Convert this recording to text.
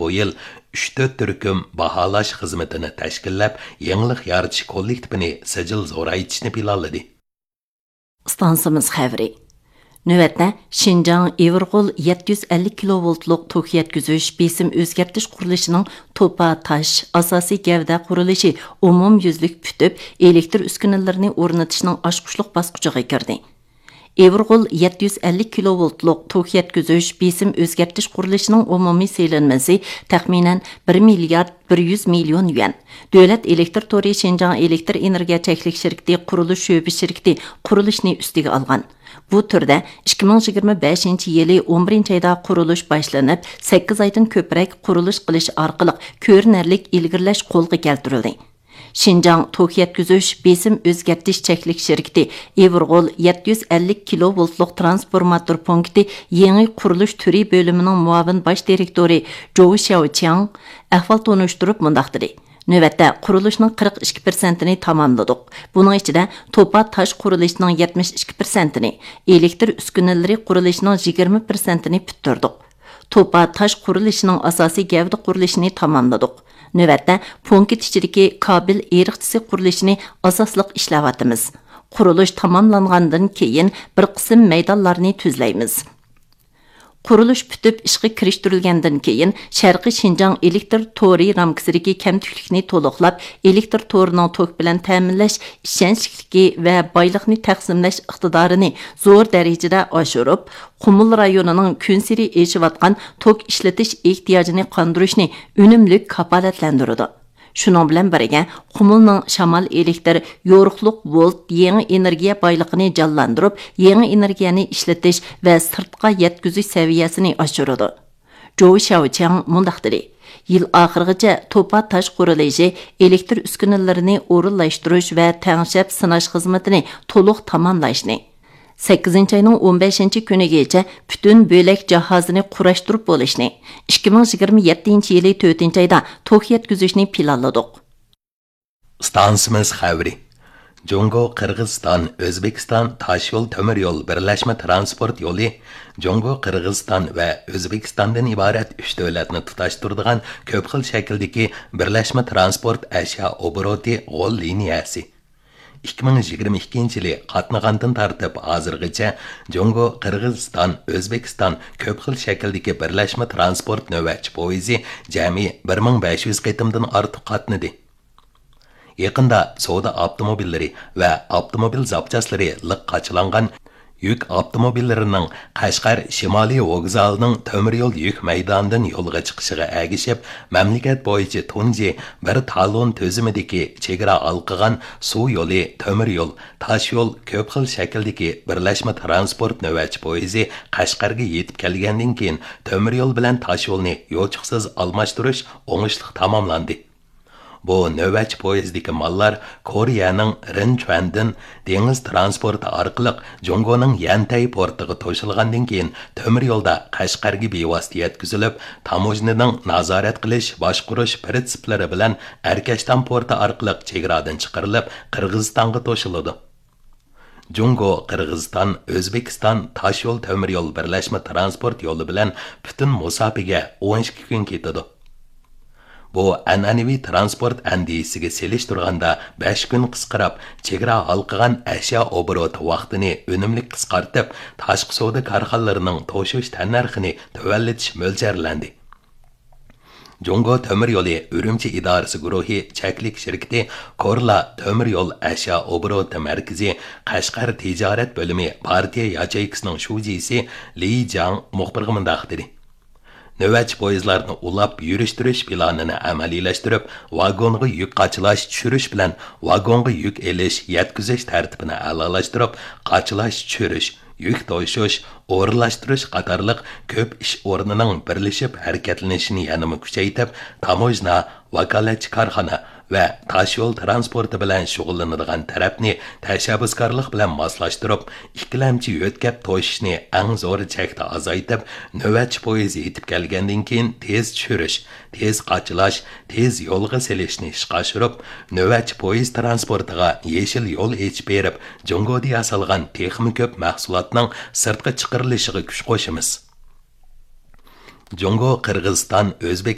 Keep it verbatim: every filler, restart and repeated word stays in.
بۇ يىل ئۈچ تۆت تۈركۈم باھالاش خىزمىتىنى تەشكىللەپ، يېڭىلىق يارىتىش كوللېكتىپىنى سىجىل زورايتىشنى پىلانلىدى. ئىستانسىمىز خەۋىرى. نۆۋەتتە شىنجاڭ ئىۋىرغول يەتتە يۈز ئەللىك كىلوۋولتلۇق توك يەتكۈزۈش بېسىم ئۆزگەرتىش قۇرۇلۇشىنىڭ توپا تاش ئاساسىي گەۋدە قۇرۇلۇشى ئومۇميۈزلۈك پۈتۈپ، ئېلېكتر ئۈسكۈنىلىرىنى ئورنىتىشنىڭ ئاچقۇچلۇق باسقۇچىغا كىردى. ئىۋىرغول يەتتە يۈز ئەللىك كىلوۋولتلۇق توك يەتكۈزۈش بېسىم ئۆزگەرتىش قۇرۇلۇشىنىڭ ئومۇمىي سېلىنمىسى تەخمىنەن بىر مىليارد بىر يۈز مىليون يۈەن. دۆلەت ئېلېكتر تورى شىنجاڭ ئېلېكتر ئېنېرگىيە چەكلىك شىركىتى قۇرۇلۇش شۆبە شىركىتى قۇرۇلۇشنى ئۈستىگە ئالغان. بۇ تۈردە ئىككى مىڭ يىگىرمە بەشىنچى يىلى ئون بىرىنچى ئايدا قۇرۇلۇش باشلىنىپ، سەككىز ئايدىن كۆپرەك قۇرۇلۇش قىلىش ئارقىلىق كۆرۈنەرلىك ئىلگىرىلەش قولغا كەلتۈرۈلدى. شىنجاڭ توك يەتكۈزۈش بېسىم ئۆزگەرتىش چەكلىك شىركىتى ئىۋىرغول يەتتە يۈز ئەللىك كىلوۋولتلۇق ترانسفورماتور پونكىتى يېڭى قۇرۇلۇش تۈرى بۆلۈمىنىڭ مۇئاۋىن باش دىرېكتورى جو شياۋچياڭ ئەھۋال تونۇشتۇرۇپ مۇنداق دېدى: نۆۋەتتە قۇرۇلۇشنىڭ قىرىق ئىككى پىرسەنتىنى تاماملىدۇق. بۇنىڭ ئىچىدە توپا تاش قۇرۇلۇشىنىڭ يەتمىش ئىككى پىرسەنتىنى، ئېلېكتر ئۈسكۈنىلىرى قۇرۇلۇشىنىڭ يىگىرمە پىرسەنتىنى پۈتتۈردۇق. توپا تاش قۇرۇلۇشىنىڭ ئاساسىي گەۋدە قۇرۇلۇشىنى تاماملىدۇق. نۆۋەتتە پونكىت ئىچىدىكى كابېل ئېرىقچىسى قۇرۇلۇشىنى ئاساسلىق ئىشلەۋاتىمىز. قۇرۇلۇش تاماملانغاندىن كېيىن بىر قىسىم مەيدانلارنى تۈزلەيمىز. قۇرۇلۇش پۈتۈپ ئىشقا كىرىشتۈرۈلگەندىن كېيىن، شەرقىي شىنجاڭ ئېلېكتر تورى رامكىسىدىكى كەمتۈكلۈكنى تولۇقلاپ، ئېلېكتر تورىنىڭ توك بىلەن تەمىنلەش ئىشەنچلىكلىكى ۋە بايلىقنى تەقسىملەش ئىقتىدارىنى زور دەرىجىدە ئاشۇرۇپ، قۇمۇل رايونىنىڭ كۈنسېرى ئېشىۋاتقان توك ئىشلىتىش ئېھتىياجىنى قاندۇرۇشنى ئۈنۈملۈك كاپالەتلەندۈرىدۇ. شۇنىڭ بىلەن بىرگە، قۇمۇلنىڭ شامال ئېلېكتر، يورۇقلۇق ۋولت يېڭى ئېنېرگىيە بايلىقىنى جانلاندۇرۇپ، يېڭى ئېنېرگىيەنى ئىشلىتىش ۋە سىرتقا يەتكۈزۈش سەۋىيەسىنى ئاشۇرىدۇ. جو شياۋچياڭ مۇنداق دېدى: يىل ئاخىرىغىچە توپا تاش قۇرۇلۇشى، ئېلېكتر ئۈسكۈنىلىرىنى ئورۇنلاشتۇرۇش ۋە تەڭشەپ سىناش خىزمىتىنى تولۇق تاماملاشنى، سەككىزىنچى ئاينىڭ ئون بەشىنچى كۈنىگىچە پۈتۈن بۆلەك جاھازىنى قۇراشتۇرۇپ بولۇشنى، ئىككى مىڭ يىگىرمە يەتتىنچى يىلى تۆتىنچى ئايدا توك يەتكۈزۈشنى پىلانلىدۇق. ئىستانسىمىز خەۋىرى. جۇڭگو، قىرغىزىستان، ئۆزبېكىستان تاشيول تۆمۈر يول بىرلەشمە ترانسپورت يولى جۇڭگو، قىرغىزىستان ۋە ئۆزبېكىستاندىن ئىبارەت ئۈچ دۆلەتنى تۇتاشتۇرىدىغان كۆپ خىل شەكىلدىكى بىرلەشمە ترانسپورت ئەشيا ئوبوروتى غول لىنىيەسى. ئىككى مىڭ يىگىرمە ئىككىنچى يىلى قاتنىغاندىن تارتىپ ھازىرغىچە جۇڭگو، قىرغىزىستان، ئۆزبېكىستان كۆپ خىل شەكىلدىكى بىرلەشمە ترانسپورت نۆۋەتچى پويىزى جەمئىي بىر مىڭ بەش يۈز قېتىمدىن ئارتۇق قاتنىدى. يېقىندا سودا ئاپتوموبىللىرى ۋە ئاپتوموبىل زاپچاسلىرى لىق قاچىلانغان يۈك ئاپتوموبىللىرىنىڭ قەشقەر شىمالىي ۋوگزالىنىڭ تۆمۈر يول يۈك مەيدانىدىن يولغا چىقىشىغا ئەگىشىپ، مەملىكەت بويىچە تۇنجى بىر تالون تۈزۈمىدىكى چېگرا ھالقىغان سۇ يولى، تۆمۈر يول، تاش يول كۆپ خىل شەكىلدىكى بىرلەشمە ترانسپورت نۆۋەتچى پويىزى قەشقەرگە يېتىپ كەلگەندىن كېيىن، تۆمۈر يول بىلەن تاش يولنى يوچۇقسىز ئالماشتۇرۇش ئوڭۇشلۇق تاماملاندى. بۇ نۆۋەتچى پويىزدىكى ماللار كورېيەنىڭ رىنچۈەندىن دېڭىز ترانسپورتى ئارقىلىق جۇڭگونىڭ يەنتەي پورتىغا توشۇلغاندىن كېيىن، تۆمۈر يولدا قەشقەرگە بىۋاسىتە يەتكۈزۈلۈپ، تاموژنىنىڭ نازارەت قىلىش، باشقۇرۇش پىرىنسىپلىرى بىلەن ئەركەشتان پورتى ئارقىلىق چېگرادىن چىقىرىلىپ، قىرغىزىستانغا توشۇلىدۇ. جۇڭگو، قىرغىزىستان، ئۆزبېكىستان تاش يول تۆمۈر يول بىرلەشمە ترانسپورت يولى بىلەن پۈتۈن مۇساپىگە ئون ئىككى كۈن كېتىدۇ. بۇ ئەنئەنىۋى ترانسپورت ئەندىزىسىگە سېلىشتۇرغاندا بەش كۈن قىسقىراپ، چېگرا ھالقىغان ئەشيا ئوبوروتى ۋاقتىنى ئۈنۈملۈك قىسقارتىپ، تاشقى سودا كارخانىلىرىنىڭ توشۇش تەننەرخىنى تۆۋەنلىتىش مۆلچەرلەندى. جۇڭگو تۆمۈر يولى ئۈرۈمچى ئىدارىسى گۇرۇھى چەكلىك شىركىتى كورلا تۆمۈر يول ئەشيا ئوبوروتى مەركىزى قەشقەر تىجارەت بۆلۈمى پارتىيە ياچېيكىسىنىڭ شۇجىسى لى جاڭ مۇخبىرغا مۇنداق دېدى: نۆۋەتچى پويىزلارنى ئۇلاپ يۈرۈشتۈرۈش پىلانىنى ئەمەلىيلەشتۈرۈپ، ۋاگونغا يۈك قاچىلاش، چۈشۈرۈش بىلەن ۋاگونغا يۈك ئېلىش، يەتكۈزۈش تەرتىپىنى ئەلالاشتۇرۇپ، قاچىلاش، چۈشۈرۈش، يۈك توشۇش، ئورۇنلاشتۇرۇش قاتارلىق كۆپ ئىش ئورنىنىڭ بىرلىشىپ ھەرىكەتلىنىشىنى يەنىمۇ كۈچەيتىپ، تاموژنا، ۋاكالەتچى كارخانا ۋە تاشيول ترانسپورتى بىلەن شۇغۇللىنىدىغان تەرەپنى تەشەببۇسكارلىق بىلەن ماسلاشتۇرۇپ، ئىككىلەمچى يۆتكەپ توشۇشنى ئەڭ زور چەكتە ئازايتىپ، نۆۋەتچى پويىز يېتىپ كەلگەندىن كېيىن تېز چۈشۈرۈش، تېز قاچىلاش، تېز يولغا سېلىشنى ئىشقا ئاشۇرۇپ، نۆۋەتچى پويىز ترانسپورتىغا يېشىل يول ئېچىپ بېرىپ، جۇڭگودا ياسالغان تېخىمۇ كۆپ مەھسۇلاتنىڭ سىرتقا چىقىرىلىشىغا كۈچ قوشىمىز. جۇڭگو، قىرغىزىستان، ئۆزبېكىستان